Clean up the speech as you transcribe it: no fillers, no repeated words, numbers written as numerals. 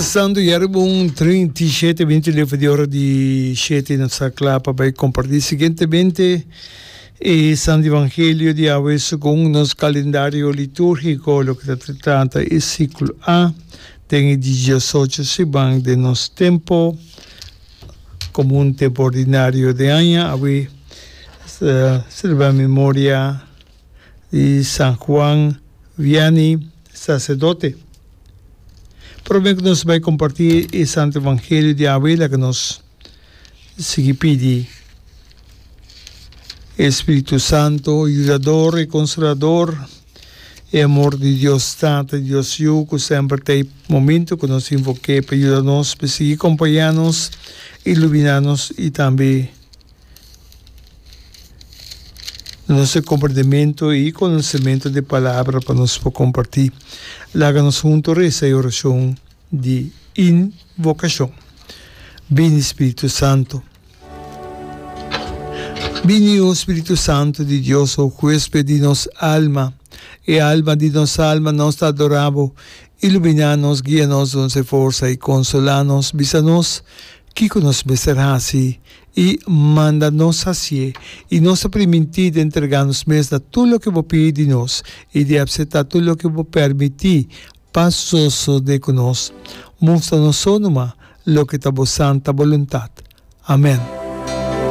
Santo ya riba un 37 minuto leu for di ora di shete nos ta kla pa bai kompartí siguientemente e Santo Evangelio di awe segun nos kalendario litúrgiko loke ta trata e siklo A den e diesocho siman den nos tempo komun tempo ordinario den aña awe ta selebrá memoria di San Juan Vianney sacerdote. Prome ku nos bai kompartí e Santo Evangelio di awe laga nos sigui pidi e Spiritu Santo, Yudador i Konsolador, e amor di Dios Tata i Dios Yu ku semper ta e momento ku nos invok'é pa yuda nos, pa sigui kompañá nos, iluminá nos i tambe Nos e komprendementu i konosementu di Palabra pa nos por kompartí. Laga nos huntu resa e orashon di invokashon. Bini Spiritu Santu. Bini, o Spiritu Santu di Dios, o huesped di nos alma, e alma di nos alma, nos ta adorá bo. Iluminá nos, guia nos, duna nos e forsa i konsolá nos. Bisa nos kiko nos mester hasi I manda nos hasié, i nos ta primintí di entregá nos mes na tur loke bo pidi di nos i di apseptá tur loke bo permití pa sosodé ku nos. Mustra nos so numa loke ta bo santa boluntat. Amèn.